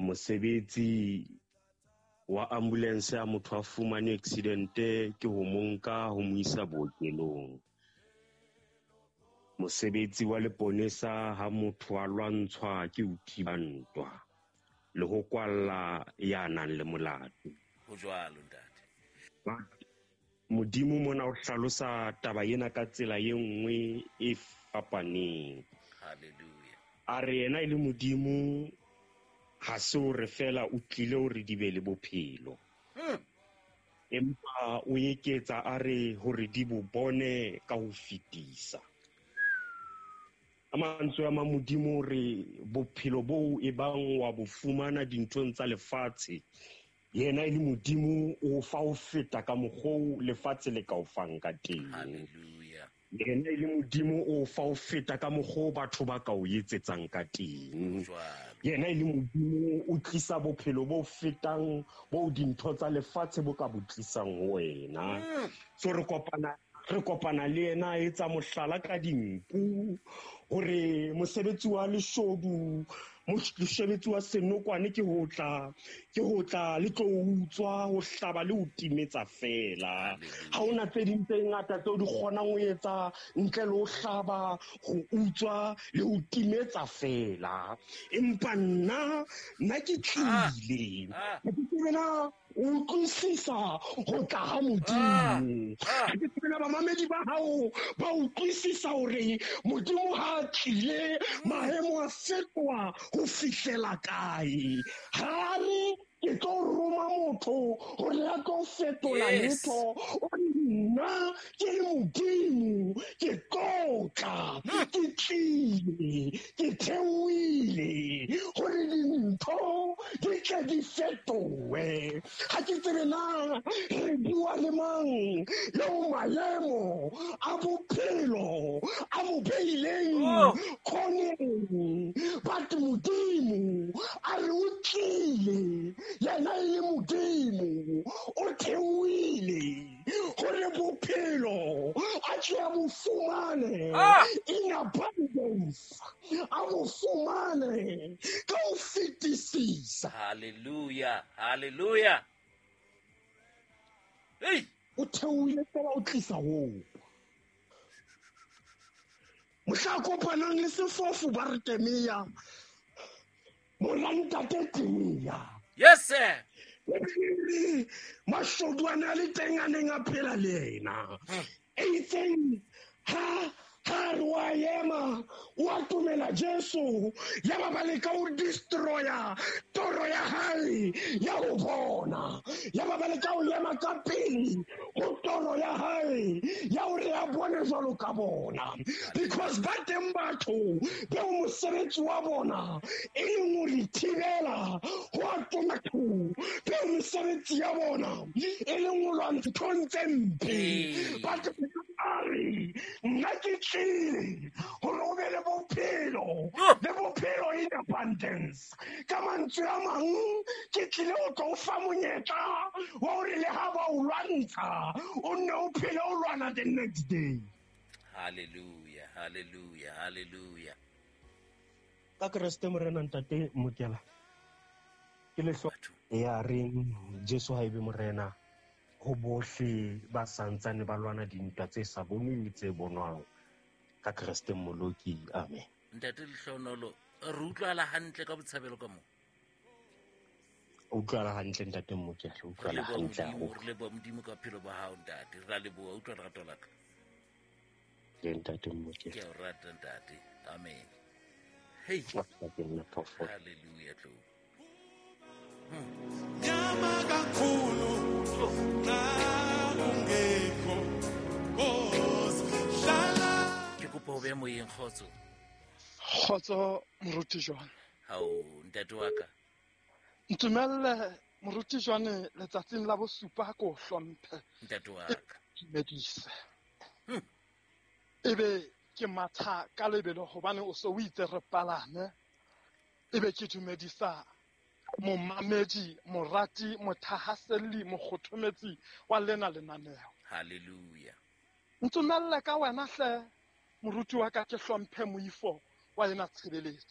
Mosebetsi wa ambulance ha motho a fumane accident ke ho mo nka ho mo isa bookelong. Mosebetsi wa leponesa ha motho a lwantshwa ke ho thiba ntwa le ho kwalla ya nang le molato. Ho jwalo, ntate. But Modimo mona o hlalosa taba ena ka tsela e nngwe e fapaneng. Hallelujah. A re yena e le Modimo ha se hore feela o tlile hore di be le bophelo. Empa o eketsa a re hore di bo bone ka ho fetisa. Ka mantswe a mang Modimo o re bophelo boo e bang wa bo fumana dinthong tsa lefatshe, yena e le Modimo o fa ho feta ka mokgoo lefatshe le ka o fang ka teng. Hallelujah. Yena e le Modimo o fa ho feta ka mokgoo batho ba ka o etsetsang ka teng. Jwalo. Yena e le Modimo o tlisa bophelo bo fetang bo dintho tsa lefatshe bo ka bo tlisang ho wena. So re kopana le yena a etsa mohlala ka dinku hore mosebetsi wa leshodu, mosebetsi wa senokwane ke ho tla, ke ho tla le tlo utswa, ho hlaba le ho timetsa fela. Ha hona tse ding tse ngata tseo di kgonang ho etsa ntle le ho hlaba, ho utswa le ho timetsa fela. Empa nna ke tlile. Ha ke tsebe na o utlwisisa ho tla ha Modimo. Ha ke tsebe na bamamedi ba hao ba utlwisisa hore Modimo ha a tlile, maemo a fetoha ho fihlela kae. Ha re ke tlo roma motho hore a tlo fetola letho, o re nna ke le Modimo ke tlo tla, ke tlile, ke theohile hore dintho di tle di fetohe. Ha ke tsebe na re bua le mang eo maemo a bophelo a mo beileng khoneng, but Modimo a re o tlile, yena e le Modimo o theohile hore bophelo a tle a bo fumane in abundance, a bo fumane ka ho fetisisa. Hallelujah, hallelujah. Hey! O theohile fela o tlisa hoo. Mohla a kopanang le sefofu ba re Temea, mora ntate Temea. Yes, sir. Ebile mashodu a ne a le teng a neng a phela le yena. Eitseng ha re wa ema, o atomela Jesu, ya ba ba leka ho destroya toro ya hae ya ho bona. Ya ba ba leka ho ema ka pele ho toro ya hae ya hore a bone jwalo ka bona. Because ba teng batho beo mosebetsi wa bona e leng ho re thibela ho atoma batho, beo mosebetsi ya bona e leng ho lwantsha nthong tse mpe. But a re, nna ke tlile hore o be le bophelo, le bophelo in abundance. Ka mantswe a mang, ke tlile ho tlo o fa monyetla wa hore le ha ba o lwantsha, o nne o phele o lwana the next day. Hallelujah, hallelujah, hallelujah. Ka Kreste Morena Ntate Mokela, ke le hlo ya reng Jesu ha ebe Morena ho bohle ba santsane ba lwana dintwa tse sa bonweng le tse bonwang. Ka Kreste Mmoloki, amen. Ntate Lehlohonolo, re utlwala hantle ka botshabelo ka moo? O utlwala hantle Ntate Mokela, o utlwala Re leboha hantle Modimo, haholo. re leboha Modimo ka bophelo ba hao ntate, re a leboha, utlwa lerato la ka. Le Ntate Mokela. Ke a o rata ntate, amen. Hey. Ntate nna phoofolo. Hallelujah, tlou. Nyama kakhulu, xa ungekho, Nkosi, hlala. Ke kopa o be moyeng, kgotso. Kgotso, moruti Johan. Hao, ntate wa ka. Ntumelle, moruti Johan, letsatsing la bosupa ko o hlomphe. Ntate wa ka. Dumedise. Ebe ke matha ka lebelo hobane o so o itse re palame. Ebe ke dumedisa momamedi, morati, mothahaselli, mokgothometsi wa lena lenaneo. Hallelujah. Ntumelle ka wena hle, moruti wa ka, ke hlomphe moifo wa ena tshebeletso.